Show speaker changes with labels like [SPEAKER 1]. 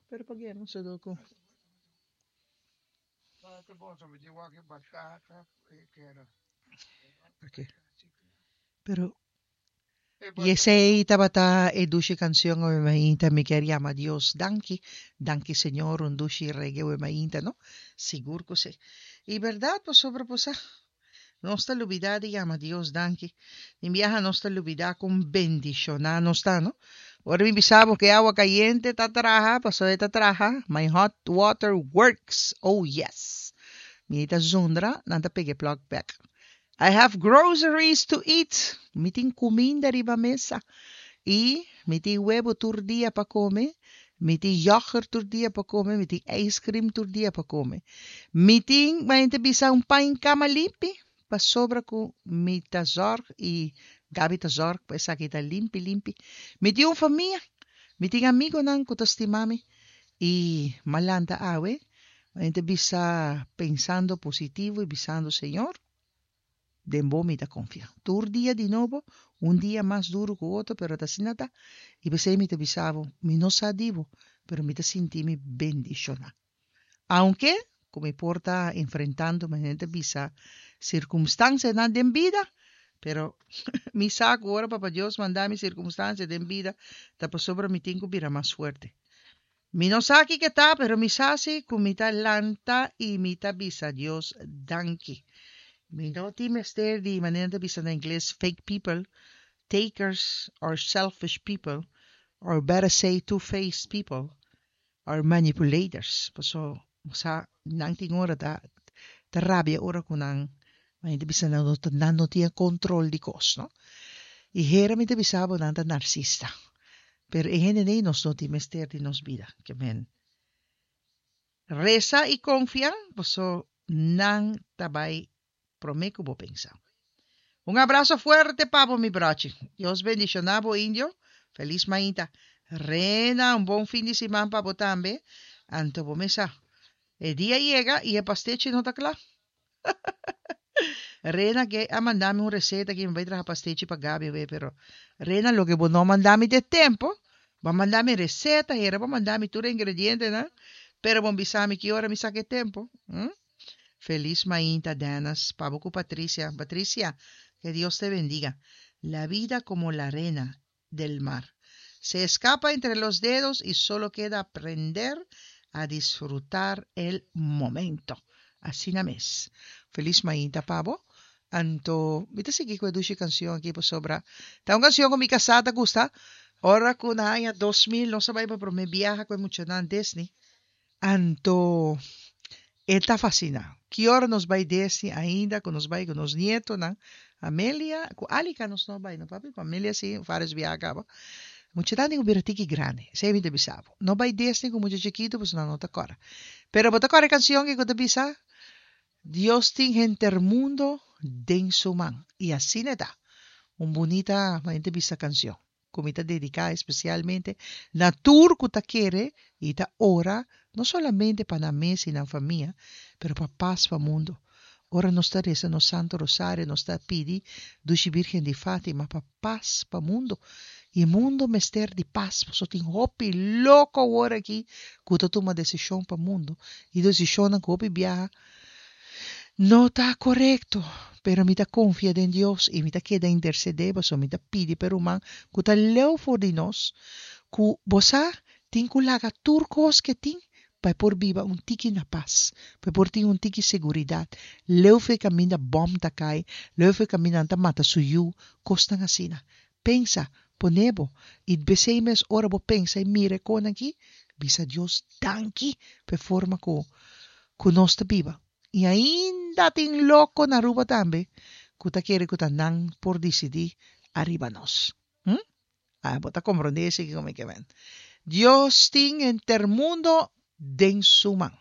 [SPEAKER 1] Pero pa no se do. Okay. Pero y esey tabata e dushi cancion awe mainta mi kier yama Dios danki, danki Señor un dushi reggae awe mainta no, sigur cu si. Y berdad pasobra bo sa nos ta lubida di yama Dios danki, tin biaha nos ta lubida con bendiciona nos ta no. Ora mi bisa bo cu e awa cayente ta traha pasobra e ta traha, my hot water works, oh yes. Mi ta zundra nan ta pega e plug bek. I have groceries to eat, mi tin kuminda riba mesa, i mi tin webo tur dia pa kome, mi tin yoghurt tur dia pa kome, mi tin ijscream tur dia pa kome. Mi tin, ma hende bisa, un pain kama limpi, pasobra ku mi ta zorg i Gaby ta zorg pa esaki ta limpi limpi. Mi tin un famia, mi tin amigonan ku ta stima mi, i m'a lanta awe, ma hende bisa pensando positivo i bisando Señor, Den bo mi ta konfia. Tur dia di nobo, un dia mas duru ku otro, pero ta asina ta. I p'esei mi ta bisa bo, mi no sa di bo, pero mi ta sinti mi bendishoná. Aunke ku mi por ta enfrentando, manera ta bisa, sirkumstansianan den bida, pero mi sa ku ora Papa Dios manda mi sirkumstansia den bida, ta pasobra mi tin ku bira mas fuerte. Mi no sa kiko ta, pero mi sa si ku mi ta lanta i mi ta bisa Dios danki. Mi no tin mester di, manera nan ta bisa na ingles, fake people, takers or selfish people, or better say two-faced people or manipulators. Paso bo sa nan tin ora ta ta rabia ora ku nan, manera ta bisa nan no nan no tin e control di kos, no. I hera mi ta bisa bo nan ta narsista. Pero e hende nei nos no tin mester di nos bida. Ke men resa i konfia paso nan ta bai prome ku bo pensa. Un abraso fuerte pa bo mi brochi. Dios bendiciona bo Indio. Feliz mainta. Rena un bon fin di siman pa bo tambe. Anto bo mesa. E dia yega i e pastechi no ta kla. Rena ke a manda mi un receta ki mi bai traha pastechi pa Gaby awe pero Rena loke bo no manda mi te tempo bo a manda mi receta hera bo a manda mi tur e ingredientenan pero bo bisa mi ki ora mi saka e tempo hm Feliz mainta Dennis pa bo ku Patricia Patricia que Dios te bendiga la vida como la arena del mar se escapa entre los dedos y solo queda aprender a disfrutar el momento. Asina mes. Feliz mainta pa bo. Anto mi ta sigui cu e dushi cancion aki pasobra ta un cancion cu mi casa ta gusta. Ora cu na aña 2000 nos a bay pa prome biaha cu e muchanan Disney. Anto e ta fasina. Ki ora nos bai Disney ainda ku nos bai ku nos nietonan, Amelia, ku Alika nos no bai no papi, ku Amelia si varios biaha kaba. Muchanan tin ku bira tiki grandi, esei mi ta bisa bo. No bai Disney ku mucha chikitu pasobra nan no ta kòrda. Pero bo ta kòrda e kanshon ku ta bisa, Dios tin henter mundo den su man. I asina e ta. Un bunita, manera ta bisa kanshon. ku mi ta dediká espesialmente na tur ku ta kere i ta ora no solamente pa nan mes i nan famia, pero pa pas pa mundu. Ora nos ta resa nos Santo Rosario nos ta pidi Dushi Birgen di Fatima pa pas pa mundu. I mundu mester di pas pasobra tin hopi loko awor aki ku ta tuma desishon pa mundu i desishonnan ku hopi biaha No ta korekto, pero mi ta konfia den Dios i mi ta keda intersedé pasobra mi ta pidi pa e ruman ku ta leu for di nos, ku, bo sa, tin ku laga tur kos ke tin pa e por biba un tiki na pas, pa e por tin un tiki seguridat, leu for e kaminda bòm ta kai, leu for e kaminda nan ta mata su yu, kosnan asina. Pensa, pone bo, i besei mes ora bo pensa i mira e konan aki, bisa Dios danki pa e forma ku ku nos ta biba. I ainda tin loko na Aruba tambe ku ta kere ku ta nan por disidí ariba nos. Hm? Ah, bo ta komprondé esei kiko mi ke men. Dios tin henter mundo den su man.